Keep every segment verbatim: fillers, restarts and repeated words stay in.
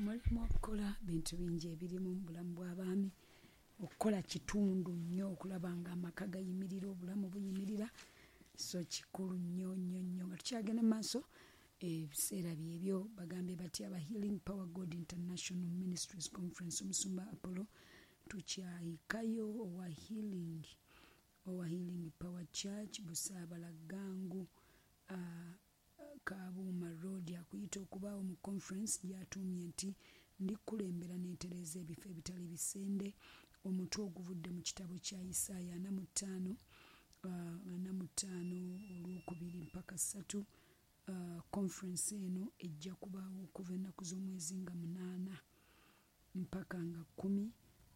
Mulimu okukola bintu bingi ebirimu mu bulamu bw'abaami. Okukola kitundu nnyo okulaba nga amaka gayimirira, obulamu buyimirira, so kikulu nnyo nnyo nnyo. Nga tukyagenda mu maaso, ebiseera byebyo bagambye batya aba Healing Power God International Ministries Conference, omusumba Apollo tukyayikayo owa Healing owa Healing Power Church Busaabala Gangu, uh, Kabuuma Road, akuyita okubaawo mu conference gy'atuumye nti ndikulembera n'entereeza ebifo ebitali bisende, omutwe oguvudde mu kitabo kya Isaaya ana mu ttaano uh, ana mu ttaano olwokubiri mpaka ssatu. Uh, conference eno ejja kubaawo okuva ennaku z'omwezi nga munaana mpaka nga kkumi,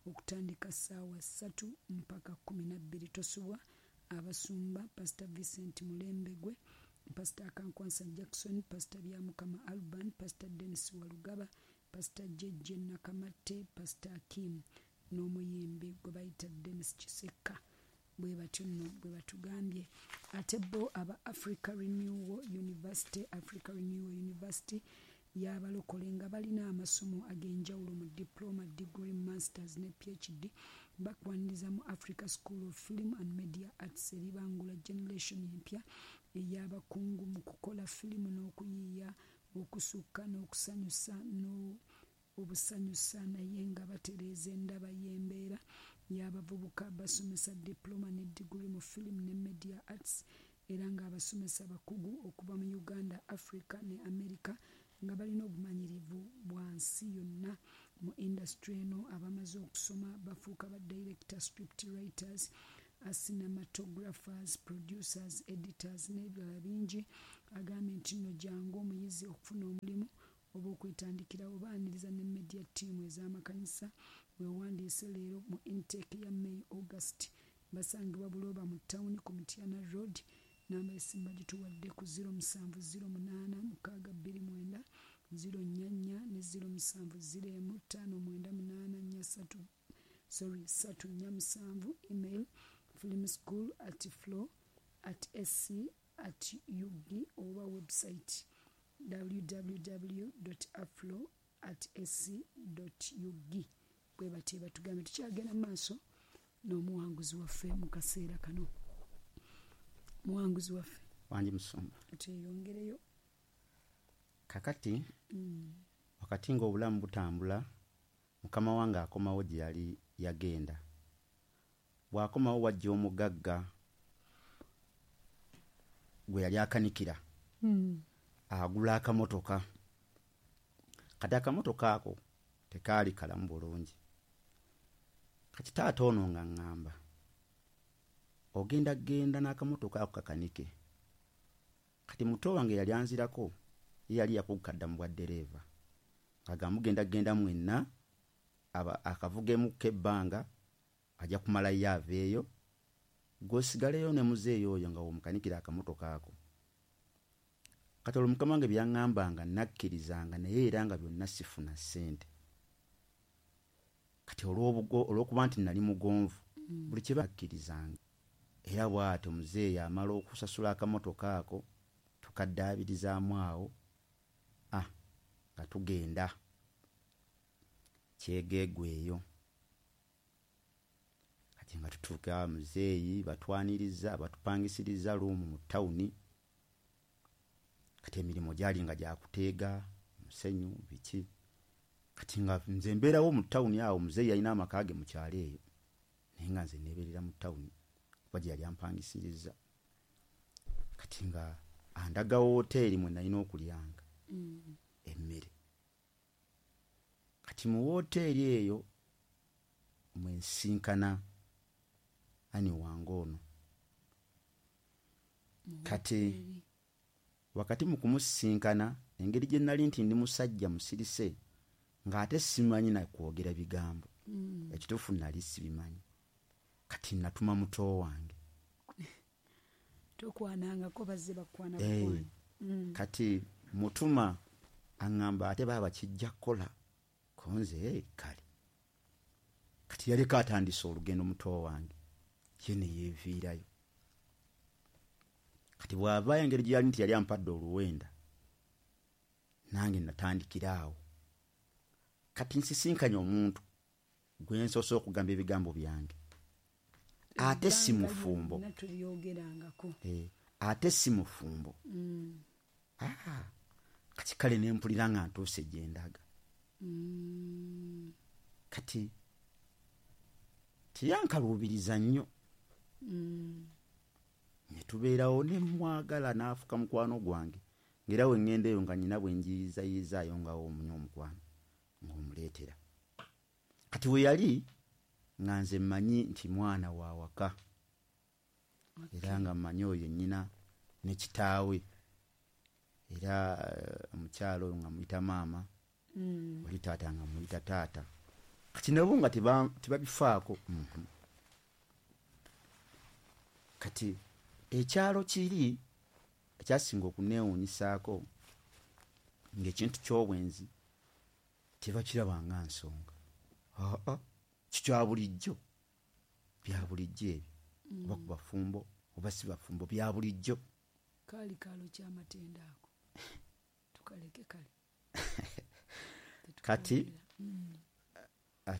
okutandika ssaawa ssatu mpaka kkumi na bbiri. Tosubwa abasumba Pastor Vincent Mulembegwe, Pastor Akankwansa Jackson, Pastor Byamukama Alban, Pastor Dennis Walugaba, Pastor J J Nakamatte, Pastor Akim n'omuyimbi gwe bayita Dennis Kisekka. Bwe batyo nno bwe batugambye. Ate bo aba Africa Renewal University, Africa Renewal University y'abalokole nga balina amasomo ag'enjawulo mu diploma, degree, masters ne P H D, bakwaniriza mu Africa School of Film and Media Arts eribangula generation empya ey'abakungu mu kukola firimu n'okuyiiya okusukka n'okusanyusa obusanyusa, naye nga batereeza endaba y'embeera y'abavubuka. Basomesa diploma ne degree mu film ne media arts, era ng'abasomesa bakugu okuva mu Uganda, Africa ne America, nga balina obumanyirivu bwa nsi yonna mu industry eno. Abamaze okusoma bafuuka ba director, script writers, cinematographers, producers, editors n'ebirala bingi. Agambye nti nno jangu omuyizi okufuna omulimu oba okwetandikirawo. Baaniriza ne media team ez'amakanisa. Weewandiise leero mu intake ya May, August. Basangibwa Buloba mu tawuni ku Mityana Road. Namba esimu bagituwadde ku zero musanvu zero munaana mukaaga bbiri mwenda zero nnya nnya ne zero musanvu zero emu ttaano mwenda munaana nnya ssatu, sorry, ssatu nnya musanvu. Email filmschool at flow at sc at ug oba website w w w aflo at sc ug. Bwe batyo batugambye. Tukyagenda mu maaso n'omuwanguzi waffe mu kaseera kano. Muwanguzi waffe. Wangi musumba. Tweyongereyo. Kakati mm. wakati ng'obulamu butambula, mukama wange akomawo gye yali yagenda. Bw'akomawo wajja omugagga gwe yali akanikira, mm. agula akamotoka. Kati akamotoka ako tekaali kalamu bulungi. Kati taata ono nga ŋŋamba, ogenda genda n'akamotoka ako kakanike. Kati muto wange yali anzirako, ye yali yakuguka dda mu bwa ddereeva, nga mugenda genda mwenna akavugemuko ebbanga, ajja kumalayo aveeyo, gw'osigaleyo ne muzeeyo oyo nga w'omukanikira akamotoka ako. Kati olwo mukama wange byaŋŋambanga nakkirizanga, naye era nga byonna sifuna ssente. Kati olw'okuba nti nali mugonvu, mm. buli kye bakkirizanga. Era bw'atyo muzeeyi amala okusasula akamotoka ako, tukaddaabirizaamu awo, ah, nga tugenda Kyegeegwe eyo. Kati nga tutuuka, muzeeyi batwaniriza, batupangisiriza luumu mu tawuni. Kati emirimu gyali nga gyakuteega musenyu biki. Kati nga nze mbeerawo mu tawuni awo, muzeeyi yalina amaka ge mu kyalo eyo, naye nga nze neebeerera mu tawuni kuba gye yali ampangisiriza. Kati nga andaga wooteeri mwe nalina okulyanga mm. emmere. Kati mu wooteeri eyo mwe nsinkana ani wange ono. Kati wakati mu kumusisinkana, engeri gye nali nti ndi musajja musirise ng'ate simanyi na kwogera bigambo, mm. ekituufu nali sibimanyi. Kati natuma muto wange. Tokwanangako, bazze bakwana Eh, bukwana. mm. Kati mutuma aŋŋamba, ate baaba kijja kukola konze kale. Kati yaleka atandise olugendo muto wange, ye ne yeeviirayo. Kati bw'avaayo, engeri gye yali nti yali ampadde oluwenda, nange natandikira awo. Kati nsisinkanye omuntu gwe nsoose okugamba ebigambo byange, ate si mufumbo. Eh, ate si mufumbo. Mm. Ah, kati kale ne mpulira nga ntuuse gye ndaga. Mm. Kati tiyankaluubiriza nnyo. Mm. Ne tubeerawo ne mwagala n'afuka mukwano gwange, ng'era we ŋŋenda eyo nga nnyina bwe njiyizaayizaayo nga omunywa omukwano ng'omuleetera. Kati we yali nga nze mmanyi nti mwana wa waka, era nga mmanyi oyo nnyina ne kitaawe, era omukyala oyo nga muyita maama, Mm. oli taata nga muyita taata. Kati nabo nga tebabifaako. Mm-hmm. Kati ekyalo kiri ekyasinga okuneewuunyisaako ng'ekintu ky'obwenzi tebakiraba nga nsonga. Aa, kikya bulijjo, bya bulijjo ebyo, oba ku bafumbo oba si bafumbo, bya bulijjo. Kaali kaalo ky'amatendo ako, tukaleke kale. Kati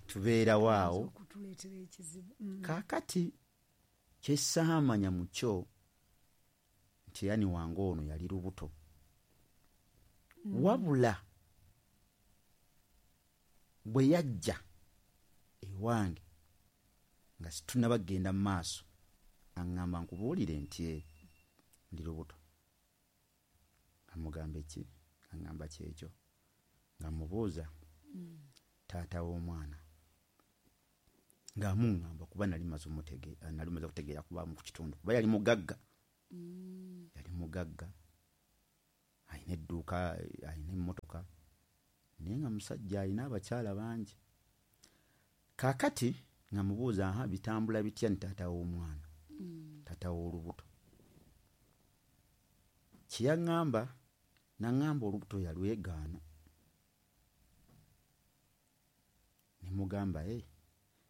tubeerawo awo. Okutuleetera ekizibu. Kaakati kye ssaamanya mu kyo nti yani wange ono yali lubuto. Wabula bwe yajja ewange nga situnnaba kugenda mu maaso, aŋŋamba nkubuulire nti ndi lubuto. Nga mugamba ki? Aŋŋamba kyekyo. Nga mubuuza taata w'omwana, ng'amuŋŋamba kuba nali maze nali maze okutegeera kuba mu kitundu, kuba yali mugagga. Yali mugagga, alina edduuka, alina emmotoka, naye nga musajja alina abakyala bangi. Kaakati nga mubuuza, aha, bitambula bitya ni taata w'omwana, taata w'olubuto? Kye yaŋŋamba, n'aŋŋamba olubuto yalwegaana. Ne mugamba, e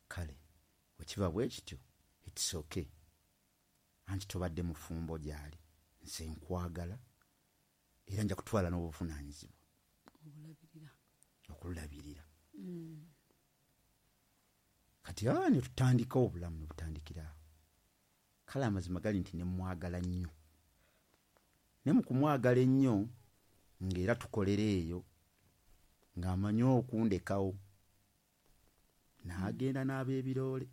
kale bwe kiba bwe kityo, it's okay, anti tobadde mufumbo gy'ali, nze nkwagala era nja kutwala n'obuvunaanyizibwa okulabirira. Kati aa ne tutandika obulamu ne butandikira awo. Kale amazima gali nti ne mwagala nnyo, ne mu kumwagala ennyo ng'era tukolera eyo, ng'amanyi okundekawo n'agenda n'ab'ebiroole.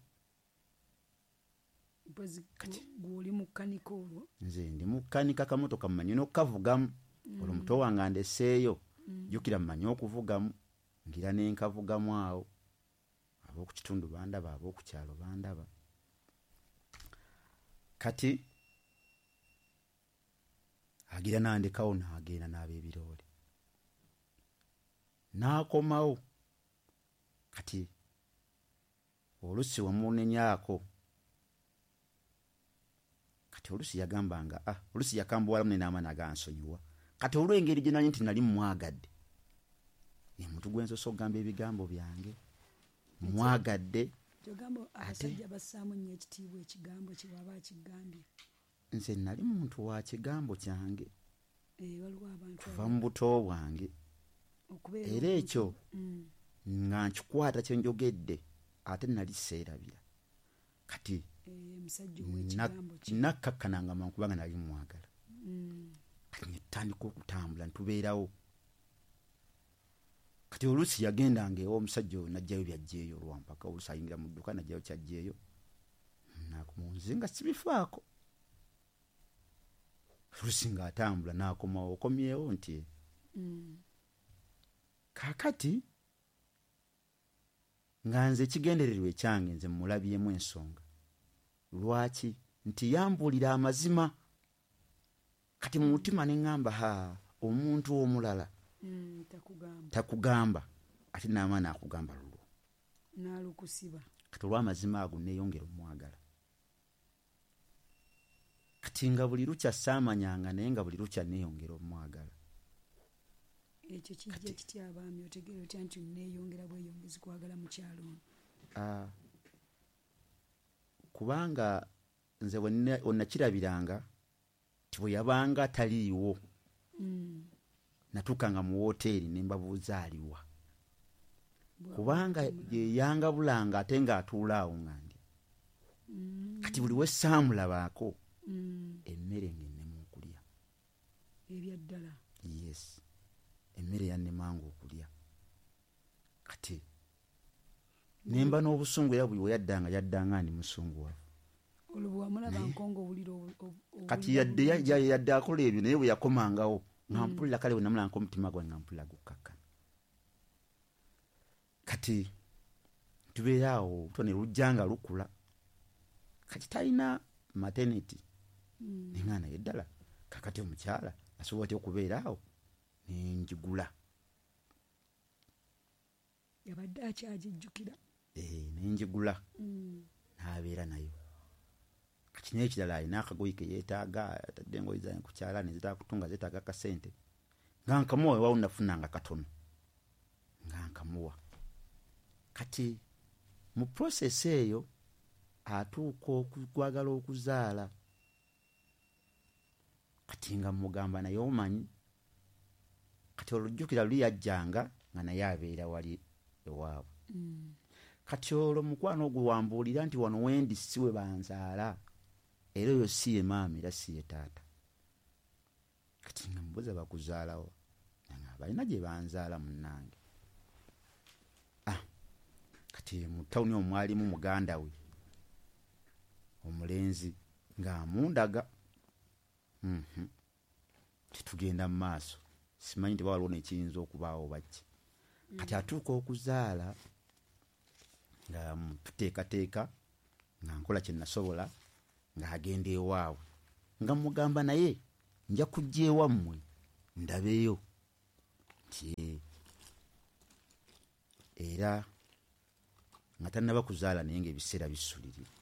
Gw'oli mukanika olwo? Nze ndi mukanika kamotoka mmanyi n'okukavugamu. Olwo muto wange andeseeyo, jjukira mmanyi okuvugamu, ngira ne nkavugamu awo. Ab'oku kitundu bandaba, ab'oku kyalo bandaba. Kati agira n'andekawo n'agenda n'ab'ebiroole, n'akomawo. Kati oluusi wamunenyaako, kati oluusi yagambanga, ah, oluusi yakambuwalamu ne n'amaanyi agansonyiwa. Kati olw'engeri gye nali nti nali mmwagadde, omuntu gwe nsoose okugamba ebigambo byange, mwagadde. Kyogamba abasajja bassaamu nnyo ekitiibwa ekigambo kye bw'aba akigambye. Nze nali muntu wa kigambo kyange kuva mu buto bwange, era ekyo nga nkikwata kye njogedde, ate nali seerabira. Kati nakkakkananga mangu kubanga nali mwagala. Kati ne tutandika okutambula ne tubeerawo. Kati oluusi yagendanga ew'omusajja oyo n'aggyayo by'aggyeyo olwampaka, oluusi ayingira mu dduuka n'aggyayo ky'aggyeyo, nze nga sibifaako. Oluusi ng'atambula n'akomawo, okomyewo nti kaakati nga nze ekigendererwa ekyange nze mmulabyemu ensonga. Lwaki? Nti yambuulira amazima. Kati mu mutima ne ŋŋamba, ha, omuntu omulala Mm, takugamba, takugamba ate n'amaanyi akugamba lulwo n'alukusiba. Kati olw'amazima ago neeyongera omwagala. Kati nga buli lukya saamanyanga, naye nga buli lukya neeyongera omwagala. Ekyo kijja kitya abaami? Otegeera otya nti neeyongera bweyongezi kwagala mukyalo ono? Ah, kubanga nze we nakirabiranga nti bwe yabanga taliiwo, Mm. natuukanga mu wooteeri ne mbabuuza aliwa. Kubanga yeyangabulanga ate ng'atuula awo nga ndya. Kati buli we ssaamulabaako emmere ng'ennema okulya. Ebyaddala. Yes, emmere yannemanga okulya. Kati nemba n'obusungu era buli we yaddanga yaddanga ndi musunguwavu. Olwo wamulaba nkongo owulira. Kati yadde yadde akola ebyo naye bwe yakomangawo nga mpulira kale bwe namulanga omutima gwange nga mpulira gukkakkana. Kati tubeera awo olubuto ne lujja nga lukula. Kati talina maternity. Nenga naye ddala kakati omukyala asobola atya okubeera awo ne njigula. Yabadde akyagijjukira. Eh, ne njigula. N'abeera nayo. Kati n'ekirala alina akagoye ke yeetaaga, atadde engoye zange ku kyalaani zeetaaga kutunga, zeetaaga akasente. Nga nkamuwa weewaawo nafunanga katono. Nga nkamuwa. Kati mu process eyo atuuka okwagala okuzaala. Kati nga mmugamba naye omanyi. Kati olujjukira luli yajjanga nga naye abeera wali ewaabwe. Kati olwo mukwano ogwo wambuulira nti wano wendi si we banzaala. Era oyo si ye maama era si ye taata. Kati nga mbuuza bakuzaalawo. Nga balina gye banzaala munnange. Ah, kati mu tawuni omwo mwalimu muganda we omulenzi ng'amundaga. Mhm. Tetugenda mu maaso. Simanyi nti waliwo n'ekiyinza okubaawo baki. Kati atuuka okuzaala nga tuteekateeka nga nkola kye nasobola ng'agenda ewaabwe. Nga mmugamba naye nja kujja ewammwe ndabeyo. Nti era nga tannaba kuzaala naye ng'ebiseera bisulirira.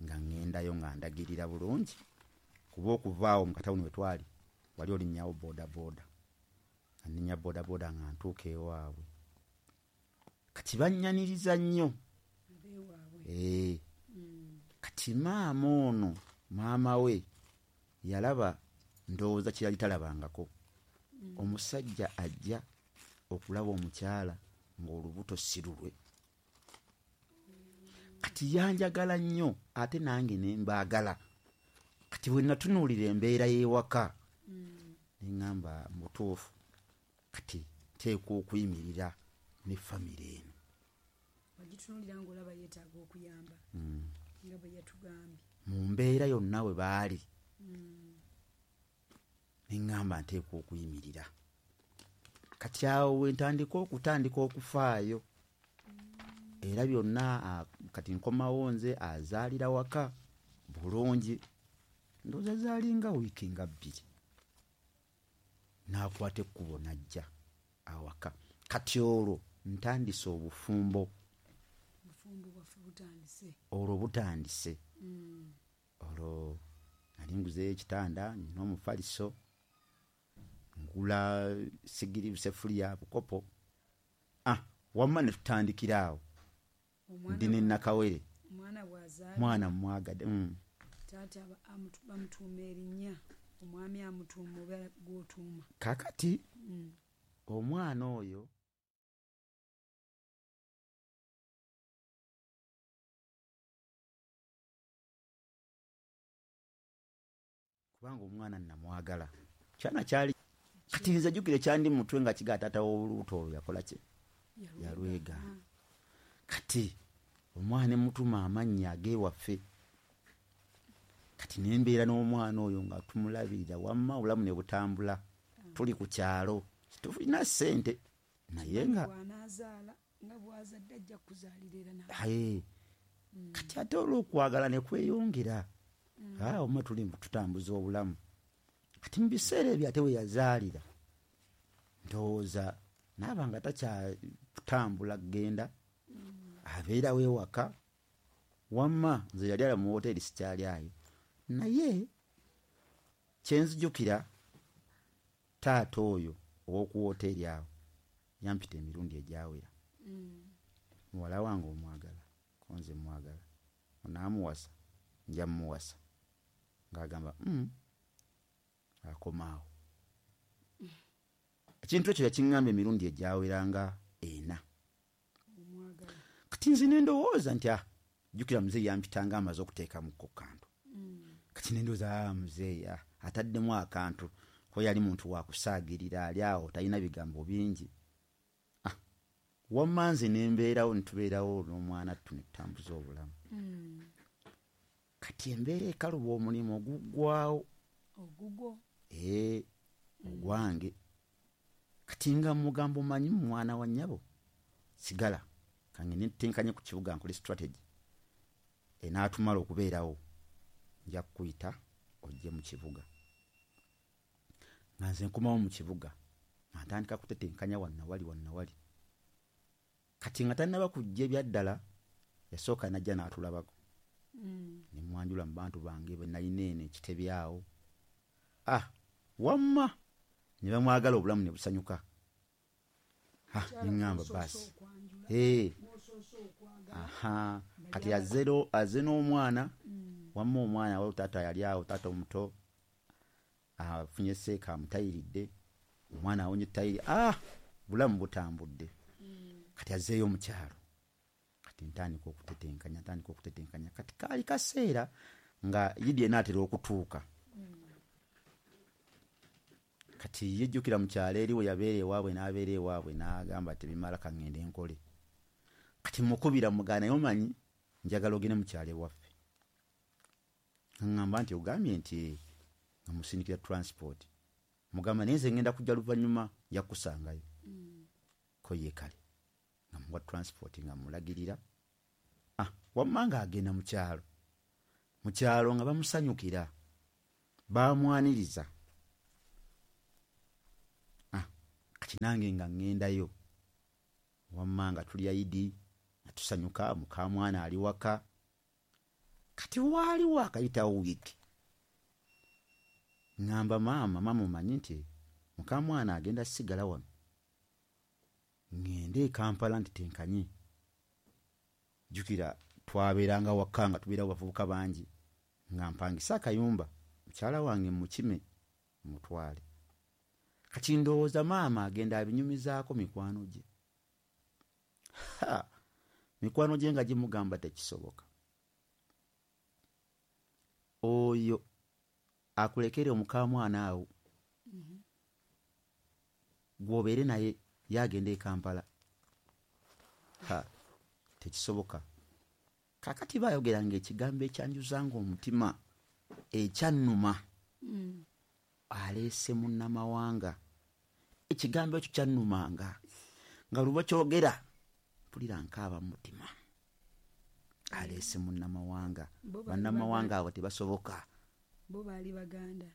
Nga ŋŋendayo nga ndagirira bulungi kuba okuva awo mu katawuni we twali wali olinnyawo boodabooda. Nga nninnya boodabooda nga ntuuka ewaabwe. Kati bannyaniriza nnyo. Eh. Kati maama ono, maama we yalaba ndowooza kye yali talabangako. Omusajja ajja okulaba omukyala ng'olubuto si lulwe. Kati yanjagala nnyo ate nange ne mbaagala. Kati bwe natunuulira embeera y'ewaka ne ŋŋamba mutuufu kati nteekwa okuyimirira ne famire eno. Wagitunuulira ng'olaba yeetaaga okuyamba nga bwe yatugambye. Mu mbeera yonna we baali ne ŋŋamba nteekwa okuyimirira. Kati awo we ntandika okutandika okufaayo. Era byonna kati nkomawo nze azaalira waka bulungi. Ndowooza zaalinga wiiki nga bbiri. N'akwata ekkubo n'ajja awaka. Kati olwo ntandise obufumbo. Obufumbo bwaffe butandise. Olwo butandise. Olwo nali nguzeeyo ekitanda nnina omufaliso. Ngula sigiri, busefuliya, bukopo. Ah, wamma ne tutandikira awo. Ndi ne Nakawere. Omwana bw'azaala. Mwana mmwagadde. Taata bamutuuma erinnya, omwami amutuuma oba gw'otuuma. Kaakati omwana oyo kubanga omwana nnamwagala. Kyana kyali kati nze jjukira kyandi mu mutwe nga kigaa taata w'olubuto olwo yakola ki? Yalwegaana. Kati omwana ne mmutuuma amannya ag'ewaffe. Kati ne mbeera n'omwana oyo nga tumulabirira wamma obulamu ne butambula. Tuli ku kyalo tetulina ssente naye nga bw'anaazaala nga bw'azadde ajja kukuzaalira era naawe. Aye. Kati ate olw'okwagala ne kweyongera. Ah, omwe tuli tutambuza obulamu. Kati mu biseera ebyo ate we yazaalira ndowooza naaba nga takyatambula kugenda abeerawo ewaka. Wamma nze yali ala mu woteeri sikyali ayo. Naye kye nzijukira taata oyo ow'oku woteeri awo yampita emirundi egyawera. Muwala wange omwagala, ko nze mmwagala. Onaamuwasa, nja mmuwasa. Ng'agamba mm, akoma awo. Ekintu ekyo yakiŋŋamba emirundi egyawera nga ena. Kati nze ne ndowooza nti ah, jjukira muzeeyi yampitanga amaze okuteekamuko kantu. Mm. Kati ne ndowooza ah, muzeeyi ah, ataddemu akantu ko yali muntu wa kusaagirira ali awo talina bigambo bingi. Ah, wamma nze ne mbeerawo ne tubeerawo n'omwana ttu ne tutambuza obulamu. Mm. Kati embeera ekaluba omulimu oguggwawo. Ogugwo? Ee, ogwange. Kati nga mugamba omanyi mwana wa nnyabo sigala kange ntenkanye ku kibuga nkole strategy enaatumala okubeerawo, nja kukuyita ojje mu kibuga. Nga nze nkomawo mu kibuga nga ntandika kutetenkanya wannawali wannawali. Kati nga tannaba kujja ebyaddala yasooka n'ajja n'atulabako. Mm. Ne mwanjula mu bantu bange be nalina eno ekitebe awo. Ah, wamma ne bamwagala obulamu ne busanyuka. Ah, ne ŋŋamba baasi. Ee. Aha, kati azze azze n'omwana, wamma omwana awo taata yali awo, taata omuto afunye seeka amutayiridde, omwana awonye tayiri. Ah, bulamu butambudde. Kati azzeeyo mu kyalo. Kati ntandika okutetenkanya, ntandika okutetenkanya. Kati kaali kaseera nga Idi enaatera okutuuka. Kati yejjukira mu kyalo eri we yabeera ewaabwe n'abeera ewaabwe n'agamba tebimala kaŋŋende nkole. Kati mukubira mugaana naye omanyi njagala ogende mu kyalo ewaffe. Aŋŋamba nti ogambye nti nga musindikira transport. Mugamba naye nze ŋŋenda kujja luvannyuma nja kukusangayo. Ko ye kale nga muwa transport nga mulagirira. Ah, wamma ng'agenda mu kyalo. Mu kyalo nga bamusanyukira, bamwaniriza. Ah, kati nange nga ŋŋendayo. Wamma nga tulya Idi, nga tusanyuka, mukamwana ali waka. Kati waaliwo akayitawo wiiki. Ŋŋamba maama, maama omanyi nti mukamwana agenda sigala wano. Ŋŋende e Kampala nti tenkanye. Jjukira twabeeranga waka nga tubeerawo bavubuka bangi. Nga mpangisa akayumba, mukyala wange mukime mutwale. Kati ndowooza maama agenda abinyumizaako mikwano gye. Ha! Mikwano gye nga gimugamba tekisoboka. Oyo akulekere omukamwana awo. Mm-hmm. Gw'obeere naye yagenda e Kampala. Ha! Tekisoboka. Kaakati baayogeranga ekigambo ekyanjuzanga omutima ekyannuma. Mm. Aleese munnamawanga. Ekigambo ekyo kyannumanga. Nga luba kyogera mpulira nkaaba mu mutima. Aleese munnamawanga. Bannamawanga abo tebasoboka. Bo baali Baganda.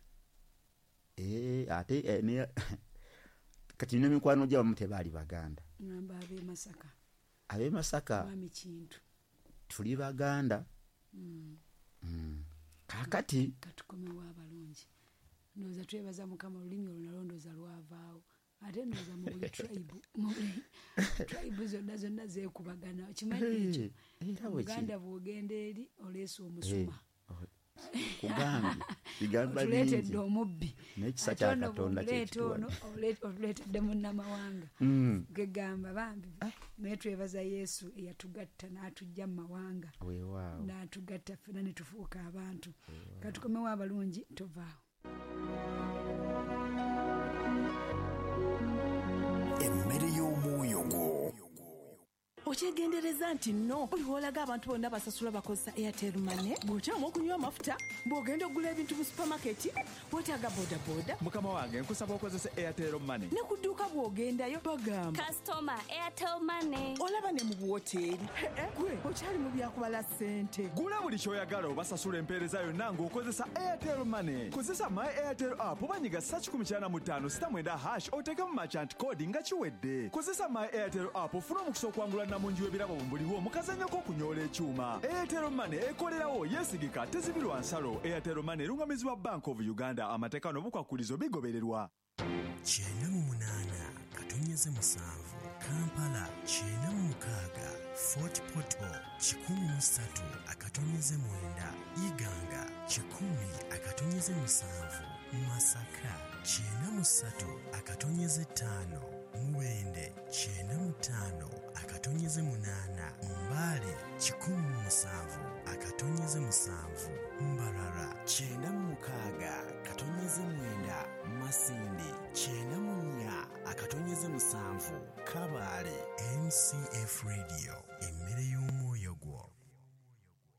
Eh, ate eh, ne kati nina mikwano gy'abamu tebaali Baganda. Ngamba ab'e Masaka. Ab'e Masaka. Mwami Kintu. Tuli Baganda. Mm. Mm. Kaakati katukomewo abalungi. Ndowooza twebaza Mukama olulimi olwo nalwo ndowooza lwavaawo. Ate ndowooza mu buli tribe, mu buli tribe zonna zonna zeekubagana. Okimanyi ekyo? Uganda bw'ogenda eri oleese omusuma. Kugambye bigamba bingi. Otuleetedde omubbi. N'ekisa kya Katonda kye kituwa. Otuleetedde munnamawanga. Gegamba bambi naye twebaza Yesu eyatugatta n'atujja mu mawanga. Weewaawo. N'atugatta ffenna ne tufuuka abantu. Katukomewo abalungi tovaawo. Emmere y'omwoyo gwo. Okyegendereza nti nno buli w'olaga abantu bonna basasula bakozesa Airtel Money, bw'okyama okunywa amafuta, bw'ogenda okugula ebintu mu supamaketi, weetaaga bodaboda. Mukama wange nkusaba okozese Airtel Money. Ne ku dduuka bw'ogendayo bagamba Customer Airtel Money. Olaba ne mu buwoteeri. Gwe okyali mu byakubala ssente. Gula buli ky'oyagala obasasula empeereza yonna ng'okozesa Airtel Money. Kozesa My Airtel app oba nyiga ssa kikumi kyana mu ttaano sita mwenda hash oteekemu merchant code nga kiwedde. Kozesa My Airtel app ofune omukisa okwangula mungi w'ebirabo buliwo mu kazannyo k'okunyoola ekyuma. Airtel Money ekolerawo, yeesigika, tezibirwa nsalo. Airtel Money erungamizibwa Bank of Uganda. Amateeka n'obukwakulizo bigobererwa. Kyenda mu munaana katonyeze musanvu Kampala, kyenda mu mukaaga Fort Portal, kikumi mu ssatu akatonyeze mwenda Iganga, kikumi akatonyeze musanvu Masaka, kyenda mu ssatu akatonyeze ttaano Mubende, kyenda mu ttaano akatonyeze akatonyeze munaana, Mbale kikumi mu musanvu akatonyeze musanvu, Mbarara kyenda mu mukaaga katonyeze mwenda, Masindi kyenda mu nnya akatonyeze musanvu, Kabale. M C F Radio, emmere y'omwoyo gwo.